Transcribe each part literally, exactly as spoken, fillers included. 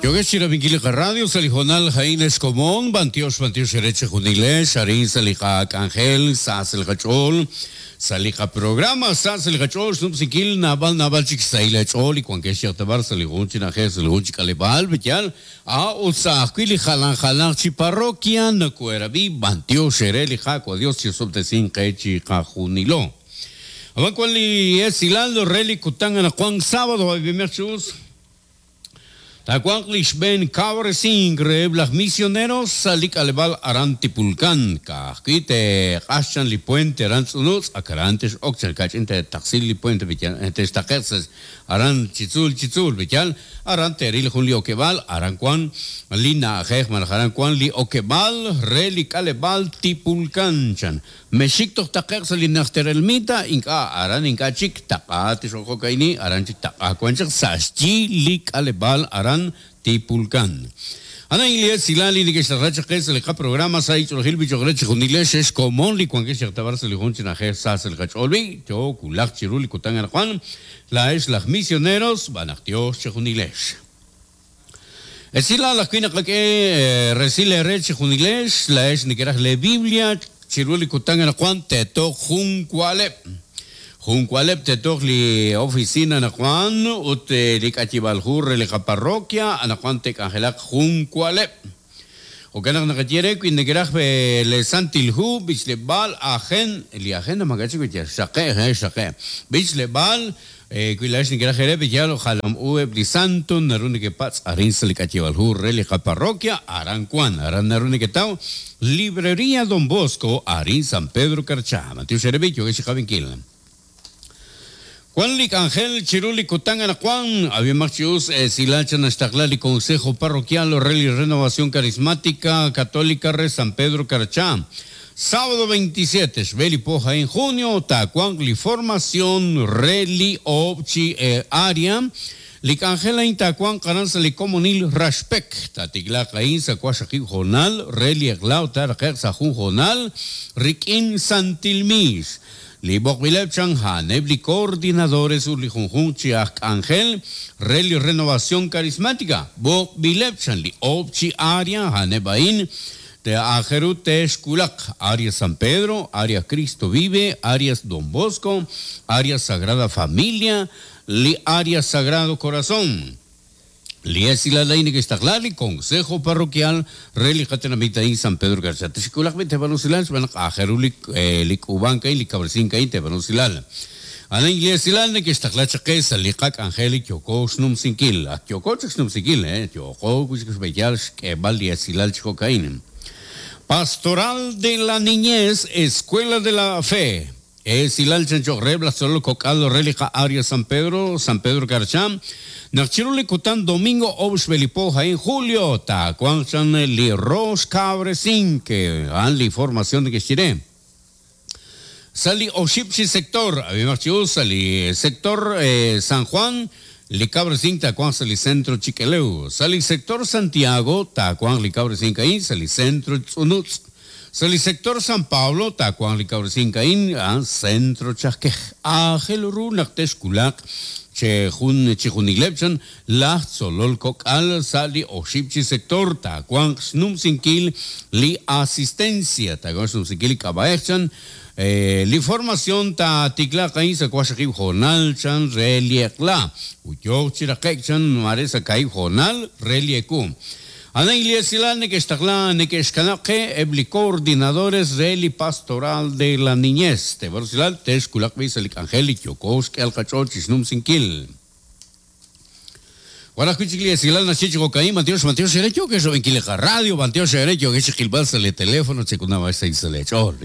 Yogesh Radio, Salijonal, Jaime Escomón, Bantiosh, Bantiosh, Ereche Junile, Sharin, Salija, Ángel, Sasel Gachol, Salija Programa, Sasel Gachol, Snupsikil, Nabal, Nabal, Chiksaila Chol, y Cuanquesh Yatabar, Saligun, Chinaje, Saligun, Chikalebal, Betial, A, Utsahquili, Jalan, Jalan, Chiparroquia, Nacuerabi, Bantiosh, Ereli, Jaco, Dios, Chisoptesin, Quechi, Jajunilo. Abacuali, Esilando, Reli, Kutangana, Juan, sábado, Abimerchus. Tacuanclish ben cabrecín las misioneros salik alebal arantipulcan kajquite qashan li puente arantzunutz akarantes oxel kachinte taxil li puente bitial testaquetzes aran chitzul chitzul bitial aran teril jun li okebal aran cuan lina ajej maljaran cuan li okebal relik alebal tipulcan chan mexicto taqex li nachterelmita inka aran inka chik taqatis ojokaini aran chik taqacuanchak saschi lik alebal aran Tipulcán. Ana Ilie Silali ni que se racha que se le programa sa icho gil bicho greche junilesh es común li cuan que se tabar se le junchen a sa se le cacholbi yo kulak chiruli kutan al Juan la es las misioneros van a Dios junilesh. Esila la cuina que resile reche junilesh la es ni que le Biblia chiruli kutan al Juan te to juncuale. Juncualep te li oficina na Juan ut li kachibaljur li parroquia ana Juan te cangelak juncualep. O que na katiere kuin negraj le santilhu bichlebal agen li agenda magachi que saqe he saqe bichlebal kuilash negraj ere biyalo jalam u li santo narune que pats arin li kachibaljur li parroquia aran Juan aran narune que tau librería Don Bosco arin San Pedro Carchá Mateo Sherebicho que se javinquil. Juan Lic Ángel Chiruli Kutangana Juan, había marchius Silacha Nastaclali Consejo Parroquial Orreli Renovación Carismática Católica Re San Pedro Carchá. Sábado veintisiete, Shbeli Poja en junio, Tacuangli Formación Reli Obchi eh, Aria. Lic Ángela Intacuan Caranzali Comunil Rashpek, Tatigla Caín Sacuashaki Jonal, Reli Eglau Tarjer Sajun Jonal, Rikin Santilmis. Li Bokbileb Chanjan, Ebli coordinadores Uli Junjun Chiak Ángel, Reli Renovación Carismática, Bokbileb Chan, Li Obchi Aria, Hanebain, Te Ajerut Teshkulak, Arias San Pedro, Arias Cristo Vive, Arias Don Bosco, Arias Sagrada Familia, Li Arias Sagrado Corazón. Liesila Laini que está claro, Consejo Parroquial, Reli Catenamita en San Pedro García. Teshikulak te banusilal, van a Jerulik, Likubanca y Licabrcinca y te banusilal. Ana Iglesial que está claro que Salikak Angelic Yoko Snumsinkil, a Yoko Snumsinkil, eh, Yoko, que Valiasilal Chocaín. Pastoral de la Niñez, Escuela de la Fe. Es Hilal Chancho Rebla, solo Cocaldo, Relija, Arias San Pedro, San Pedro Carchán, Nachiruli Cután, Domingo, Obsbelipoja, en julio, Tacuanchan, Li Ros Cabrecín, que han la formación de que chiré. Sali Oshipchi sector, sali sector eh, San Juan, Li Cabrecín, Tacuán, sali centro Chiqueleu, sali sector Santiago, Tacuán, Li Cabrecín, Caín, sali centro Tsunutz. Sali sector San Pablo, Tacuán, Licabrcín, Caín, centro Chasquej, Ángel Runak, Texculac, Chejun, Chejunilepchan, La Solol Cocal, Sali, Oshipchi sector, Tacuán, Snumsinquil, Li Asistencia, Tacuán, Snumsinquil, Cabaechan, Li Formación, Taticla, Caín, Sacuashakib, Jonal, Chan, Reliecla, Uyoc, Chiraquechan, Maresa, Caí, Jonal, Reliecu. Ana Iglesias Nequestaclán, Nequexcanaque, Ebli coordinadores de Pastoral de la Niñez. Te Barcelal, Texculac, Bisalic, Angelic, Yokosk, El Cachochis, Numsinquil. Guaracuchiglia, Silal, Nachicho, Cocaín, Mateo, Mateo, Serecho, que eso en Quileja Radio, Mateo, Serecho, que es Gilbalsa, le teléfono, Checunaba, seis, le ocho,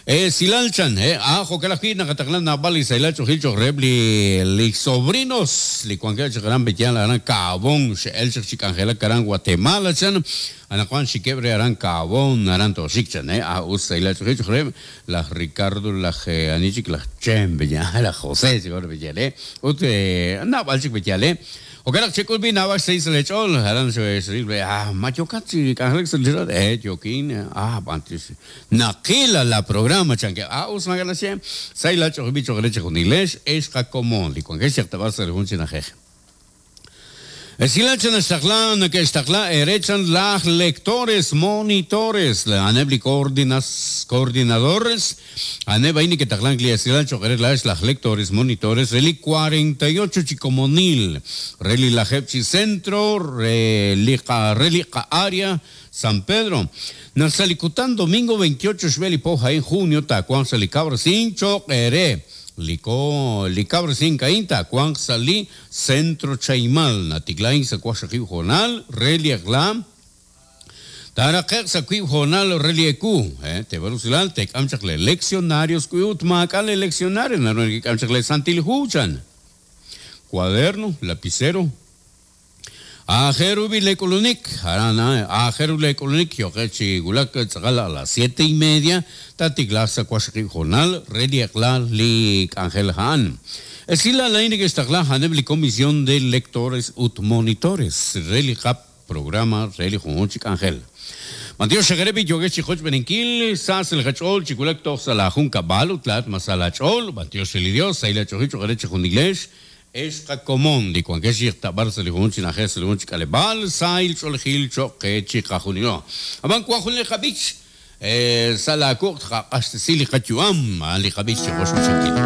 Eh, Silalchan, eh, ajo que la fina, Cataclán, Nabal, Sailacho, Gilcho, Rebli, li sobrinos, li Cuanquecho, Gran Betian, la Gran Cabón, El Chicangela, Carán, Guatemala, chan, Ana Juan Chiquebre, Aran Cabón, Aran Toshichan, eh, a Usailacho, Gilcho, Reb, la Ricardo, la Anichik, la Chembe, la José, señor Betiale, Ute, Nabal, Chic Betiale. Ojalá que culbi nada seis le chol, haran se se ah machocachi, canjex eh joquín, ah antes naquila la programa chanque, ah usma galache, saila cho bicho galeche con inglés, es jacomón, y con que se te va a hacer un chinaje. Esilal chan naxtaqla nake'xtaqla erechan laj lectores monitores a'aneb' li coordinas coordinadores a'aneb' a'in neke'taqlank li esilal cho'q re laa'ex laj lectores monitores re li cuarenta y ocho chi komonil re li lajeb' chi centro re li qa re li qa área San Pedro. Naq sa' li kutan domingo veintiocho xb'e li po a'in junio taawanq sa' li kawresink cho'q eere Liko li kawresink a'in taawanq sa' li Centro Chaimal natiklain sa' waqxaqib' hoonal re li eq'la taaraqe'q sa' wiib' hoonal re li eku eh teeb'al usilal teek'am chaq le leccionarios wi ut maak'a' le leccionario naru nekek'am chaq le Santil Hu chan cuaderno lapicero Ajeru bi le k'ulunik arana ajeru le k'ulunik yoqe chi wulak tz'aqal a las siete y media tatiklaaq sa' waqxaqib' hoonal re li eq'la li k'anjel a'an. Esilal a'in neke'xtaqla a'aneb' li comisión de lectores ut monitores re li qap programa re li junjunq chi k'anjel. Matiox xegerebi yogex chi joch beninkil sas el gachol chi wulak toj sa' la jun kab'al ut laat mas sa' la ch'ol Matiox li Dios sa' la ch'oji cho'q re chi junilex ex qakomon li wankex xtabar sa' li jun chi na'ajej sa' li jun chi k'aleb'aal sahil ch'oolejil cho'q qe chi qajunilo. Ab'an wan jun li qab'ich sa' la kuq' tqaq'axtesi li qayu'am a'an li qab'ich chi joch b'ichankil.